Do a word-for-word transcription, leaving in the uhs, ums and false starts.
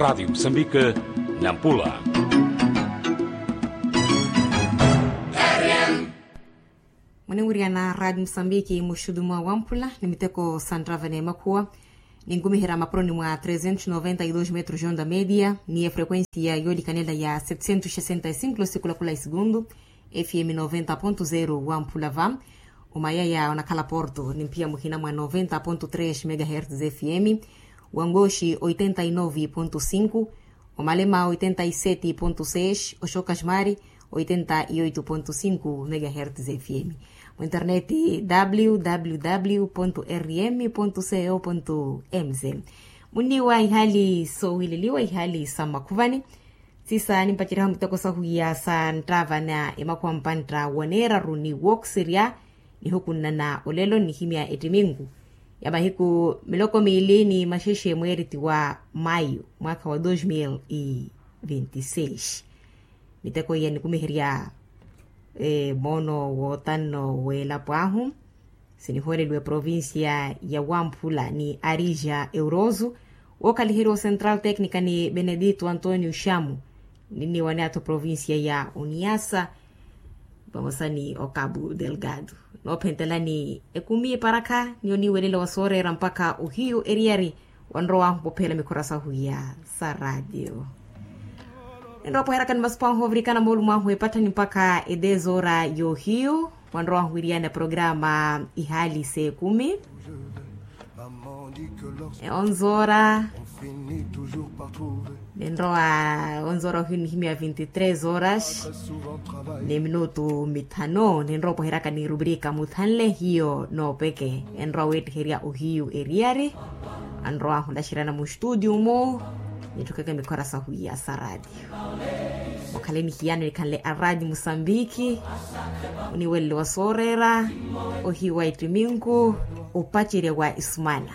Radiyo musambike, nampula. Mwanewiriyana radiyo musambike muxudu mwa wamphula ni miteko santtava n'emakhuwa, ninkumiherya mapuroni mwa trezentos noventa y dos metros onda media ni efrequencia yoolikanela ya setcentos sessenta y cinco losikulakula isigundu. Fm noventa ponto zero wamphula va. Omayaya onakhala porto ni mphiya muhina mwa noventa ponto tres megahertz fm. Wangoxi oitenta y nove ponto cinco. Omalema oitenta y sete ponto seis oxoka xmari oitenta y oito ponto cinco megahertz fm. Muinterneti www rm co mz. Munniwa ihali sowileliwa ihali sa makhuvani. Sisa nimpaceryaha muteko sahuya sa nttavana emakhuwa mpantta waneeraru ni woxirya. Nihukunnana olelo nihimya ettiminku ya mahiku miloko miili ni maxexe mweeriti wa mayu mwaakha wa dos mil e vinte y seis. Miteko iya nikumiherya moono wootanno w'elapo ahu. Sinihooreliwe provincia ya wamphula ni arija euroso. Wookhaliheriwa o central tecnica ni benedito antonio xamu. Ninniwa ni athu provincia ya uniasa vamosa ni o cabo delgado. Noophentelani ekumi eparakha ni oniiwelela wa sooreera mpakha ohiyu eriyari. Wanrowahu ophela mikhora sahuya sa radiyo. Enrowa pweherakani masupu ahu ovirikana moolumo ahu epatthani mpakha e dez hora y'ohiyu. Wanrowahu wiriyana programa ihali s'ekumi. E onze hora. Nenrowa onze hora ohiyu nihimya vinti tres horas ni minutu mithanu nenrowa opweheryaka ni rubrika muthanle hiyo noopeke. Enrowa weettiherya ohiyu eriyari. Anrowa ahulaxeryana muxtudio mu nitthukeke mikhora sahuya sa radiyo. Mukhale nihiyano nikhanle a radiyo musambiki. Oniwelele wa sooreera ohiyu wa ettiminku opacerya wa isumana.